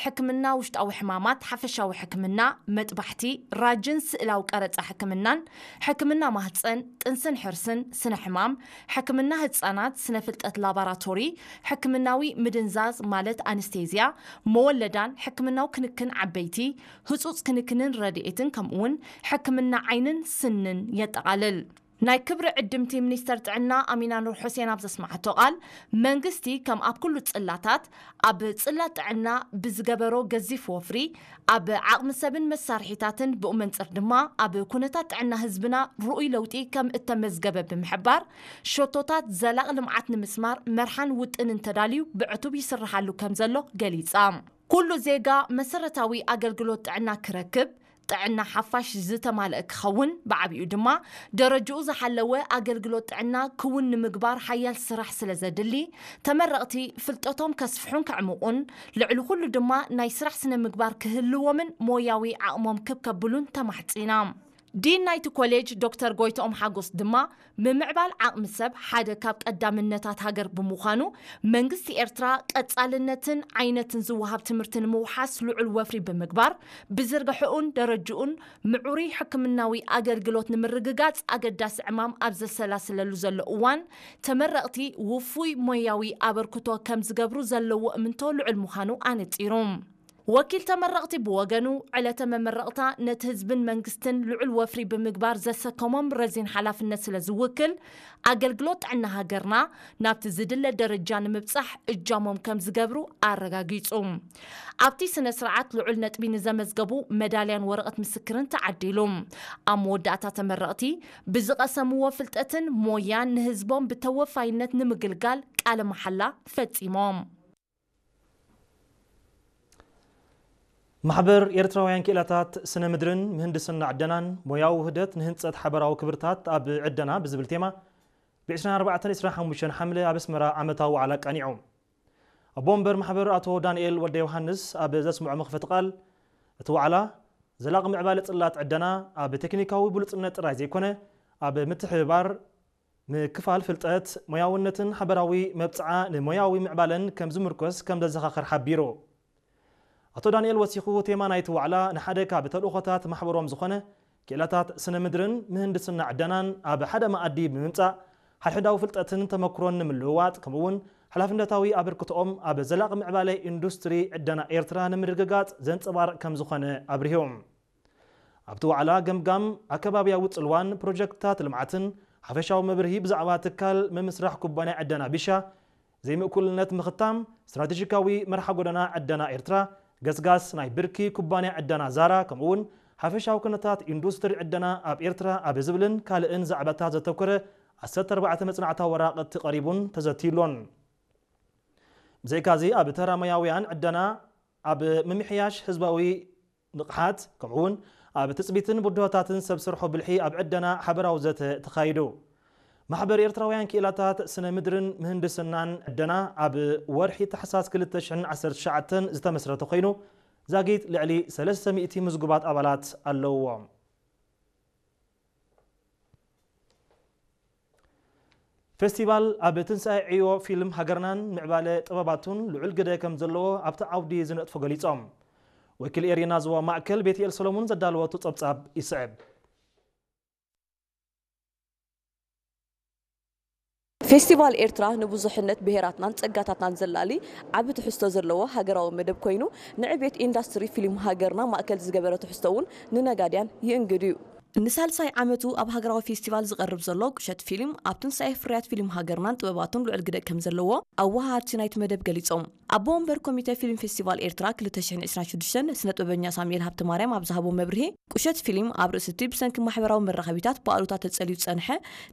ሕክምና ውሽጣዊ ሕማማት፣ ሓፈሻዊ ሕክምና፣ መጥባሕቲ፣ ራጅን ስእላዊ ቀረጻ ሕክምናን፣ ሕክምና ማህጸን፣ ጥንስን ሕርስን፣ ስነ ሕማም፣ ሕክምና ህጻናት፣ ስነ ፍልጠት ላባራቶሪ፣ ሕክምናዊ ምድንዛዝ ማለት ኣንስቴዝያ፣ መወለዳን ሕክምናዊ ክንክን ዓበይቲ፣ ህጹጽ ክንክንን ረድኤትን፣ ከምኡውን ሕክምና ዓይንን ስንን የጠቓልል። ናይ ክብሪ ዕድምቲ ሚኒስተር ጥዕና ኣሚና ኑር ሑሴን ኣብ ዘስማዓቶ ቃል፣ መንግስቲ ከም ኣብ ኩሉ ጽላታት ኣብ ጽላት ጥዕና ብዝገበሮ ገዚፍ ወፍሪ፣ ኣብ ዓቕሚ ሰብን መሳርሒታትን ብኡ መንጽር ድማ ኣብ ኩነታት ጥዕና ህዝብና ርኡይ ለውጢ ከም እተመዝገበ ብምሕባር፣ ሸቶታት ዘላቒ ልምዓት ንምስማር መርሓን ውጥንን ተዳልዩ ብዕቱብ ይስርሓሉ ከም ዘሎ ገሊጻ። ኩሉ ዜጋ መሰረታዊ ኣገልግሎት ጥዕና ክረክብ፣ ጥዕና ሓፋሽ ዝተማልአ ክኸውን፣ ብዓቢኡ ድማ ደረጅኡ ዝሓለወ ኣገልግሎት ጥዕና ክውን ንምግባር ሓያል ስራሕ ስለ ዘድሊ፣ ተመረቕቲ ፍልጠቶም ከስፍሑን ከዕምቑን፣ ልዕሊ ኩሉ ድማ ናይ ስራሕ ስነ ምግባር ክህልዎምን ሞያዊ ዓቕሞም ክብ ከብሉን ተማሕጺና። ዲን ናይቲ ኮሌጅ ዶክተር ጎይትኦም ሓጎስ ድማ፣ ምምዕባል ዓቕሚ ሰብ ሓደ ካብ ቀዳምነታት ሃገር ብምዃኑ፣ መንግስቲ ኤርትራ ቀጻልነትን ዓይነትን ዝወሃብ ትምህርቲ ንምውሓስ ልዑል ወፍሪ ብምግባር፣ ብዝርግሕኡን ደረጅኡን ምዑሩይ ሕክምናዊ ኣገልግሎት ንምርግጋጽ ኣገዳሲ ዕማም ኣብ ዘሰላስለሉ ዘሎ እዋን፣ ተመረቕቲ ውፉይ ሞያዊ ኣበርክቶ ከም ዝገብሩ ዘለዎ እምንቶ ልዑል ምዃኑ ኣነጺሩ። ወኪል ተመረቕቲ ብወገኑ፣ ዕለተ መመረቕታ ነቲ ህዝብን መንግስትን ልዑል ወፍሪ ብምግባር ዘሰከሞም ረዚን ሓላፍነት ስለ ዝውክል፣ ኣገልግሎት ጥዕና ሃገርና ናብቲ ዝድለ ደረጃ ንምብጻሕ እጃሞም ከም ዝገብሩ ኣረጋጊጹ። ኣብቲ ስነ ስርዓት ልዑል ነጥቢ ንዘመዝገቡ መዳልያን ወረቐት ምስክርን ተዓዲሉ። ኣብ መወዳእታ ተመረቕቲ ብዝቐሰምዎ ፍልጠትን ሞያን ንህዝቦም ብተወፋይነት ንምግልጋል ቃለ መሓላ ፈጺሞም። ማሕበር ኤርትራውያን ክኢላታት ስነ ምድርን ምህንድስና ዕደናን ሞያዊ ውህደት ንህንጸት ሓበራዊ ክብርታት ኣብ ዕደና ብዝብል ቴማ ብ ዕስራን ኣርባዕተን ዕስራን ሓሙሽተን ሓምለ ኣብ ኣስመራ ዓመታዊ ዋዕላ ኣቃኒዑ። ኣቦ ወንበር ማሕበር ኣቶ ዳንኤል ወልደ ዮሃንስ ኣብ ዘስምዖ መኽፈቲ ቃል፣ እቲ ዋዕላ ዘላቒ ምዕባለ ጽላት ዕደና ኣብ ቴክኒካዊ ብሉጽነት ጥራይ ዘይኮነ፣ ኣብ ምትሕብባር፣ ምክፋል ፍልጠት፣ ሞያውነትን ሓበራዊ መብጽዓ ንሞያዊ ምዕባለን ከም ዝምርኮስ ከም ዘዘኻኽር ሓቢሩ። ኣቶ ዳንኤል ወሲኹ፣ ቴማ ናይቲ ዋዕላ ንሓደ ካብ ተልእኾታት ማሕበሮም ዝኾነ ክኢላታት ስነ ምድርን ምህንድስና ዕደናን ኣብ ሓደ መኣዲ ብምምጻእ፣ ሓድሕዳዊ ፍልጠትን ተመክሮን ንምልውዋጥ፣ ከምኡ'ውን ሓላፍነታዊ ኣበርክቶኦም ኣብ ዘላቒ ምዕባለ ኢንዱስትሪ ዕደና ኤርትራ ንምርግጋጽ ዘንጸባርቕ ከም ዝኾነ ኣብሪሁ። ኣብቲ ዋዕላ ገምጋም ኣከባብያዊ ጽልዋን ፕሮጀክትታት ልምዓትን ሓፈሻዊ መብርሂ ብዛዕባ ትካል ምምስራሕ ኩባንያ ዕደና ቢሻ፣ ዘይምእኩልነት ምኽታም፣ ስትራቴጂካዊ መርሓ ጎደና ዕደና ኤርትራ፣ ገስጋስ ናይ ብርኪ ኩባንያ ዕደና ዛራ፣ ከምኡ'ውን ሓፈሻዊ ኩነታት ኢንዱስትሪ ዕደና ኣብ ኤርትራ ኣብ ዝብልን ካልእን ዛዕባታት ዘተኮረ ዓሰርተ ኣርባዕተ መጽናዕታዊ ወራቕቲ ቀሪቡን ተዘትዩሎን። ብዘይካዚ ኣብ ተራ ሞያውያን ዕደና ኣብ ምምሕያሽ ህዝባዊ ንቕሓት፣ ከምኡ'ውን ኣብ ትጽቢትን ብድሆታትን ሰብ ስርሖ ብልሒ ኣብ ዕደና ሓበራዊ ዘተ ተኻይዱ። ማሕበር ኤርትራውያን ክኢላታት ስነ ምድርን ምህንድስናን ዕደና ኣብ ወርሒ ታሕሳስ ክልተ ሽሕን ዓሰርተ ትሽዓተን ዝተመስረተ ኮይኑ፣ ዛጊት ልዕሊ ሰለስተ ሚእቲ ምዝጉባት ኣባላት ኣለውዎ። ፌስቲቫል ኣብ ትንሳኤ ዕዮ ፊልም ሃገርናን ምዕባለ ጥበባቱን ልዑል ግደ ከም ዘለዎ ኣብቲ ዓውዲ ዝነጥፉ ገሊጾም። ወኪል ኤሪና ዞባ ማእከል ቤትኤል ሰሎሙን ዘዳለወቱ ጸብጻብ ይስዕብ። ፌስቲቫል ኤርትራ ንብዙሕነት ብሄራትናን ጸጋታትናን ዘላሊ ዓቢ ትሕዝቶ ዘለዎ ሃገራዊ መደብ ኮይኑ፣ ንዕቤት ኢንዳስትሪ ፊልም ሃገርና ማእከል ዝገበረ ትሕዝቶ እውን ንነጋድያን ይእንግድ እዩ። ንሳልሳይ ዓመቱ ኣብ ሃገራዊ ፌስቲቫል ዝቐርብ ዘሎ ቁሸት ፊልም፣ ኣብ ትንሳኤ ፍርያት ፊልም ሃገርናን ጥበባቱን ልዑል ግደ ከም ዘለዎ ኣወሃሃድቲ ናይቲ መደብ ገሊጾም። ኣቦ ወንበር ኮሚተ ፊልም ፌስቲቫል ኤርትራ ክልተ ሽሕን ዕስራን ሽዱሽተን ስነ ጥበበኛ ሳሙኤል ሃብተማርያም ኣብ ዝሃቦ መብርሂ፣ ቁሸት ፊልም ኣብ ርእሲ እቲ ብሰንኪ ማሕበራዊ መራኸቢታት ብኣሉታ ተጸልዩ ዝጸንሐ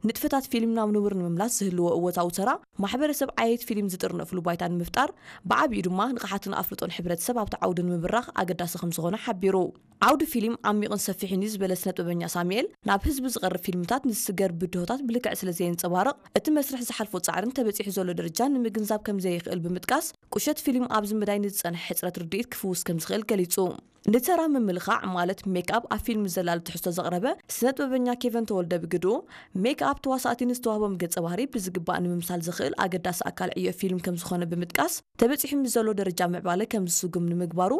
ንጥፈታት ፊልም ናብ ንቡር ንምምላስ ዝህልዎ እወታዊ ተራ፣ ማሕበረሰብ ዓየይቲ ፊልም ዝጥርነፍሉ ባይታ ንምፍጣር፣ ብዓቢኡ ድማ ንቕሓትን ኣፍልጦን ሕብረተሰብ ኣብቲ ዓውዲ ንምብራኽ ኣገዳሲ ከም ዝኾነ ሓቢሩ። ዓውዲ ፊልም ዓሚቕን ሰፊሕን እዩ ዝበለ ስነ ጥበበኛ ሳሙኤል፣ ናብ ህዝቢ ዝቐርብ ፊልምታት ንዝስገር ብድሆታት ብልክዕ ስለ ዘየንጸባርቕ፣ እቲ መስርሕ ዝሓልፎ ጻዕርን ተበጺሑ ዘሎ ደረጃን ንምግንዛብ ከም ዘየኽእል ብምጥቃስ፣ ቁሸት ፊልም ኣብዚ መዳይ ንዝጸንሐ ሕጽረት ርድኢት ክፍውስ ከም ዝኽእል ገሊጹ። ንተራ ምምልኻዕ ማለት ሜክኣፕ ኣብ ፊልም ዘላሊ ትሕዝቶ ዘቕረበ ስነ ጥበበኛ ኬቨን ተወልደ ብግድኡ፣ ሜክኣፕ ተዋሳእቲ ንዝተዋህቦም ገጸ ባህሪ ብዝግባእ ንምምሳል ዘኽእል ኣገዳሲ ኣካል ዕዮ ፊልም ከም ዝኾነ ብምጥቃስ፣ ተበጺሑ ምስ ዘሎ ደረጃ ምዕባለ ከም ዝስጉም ንምግባሩ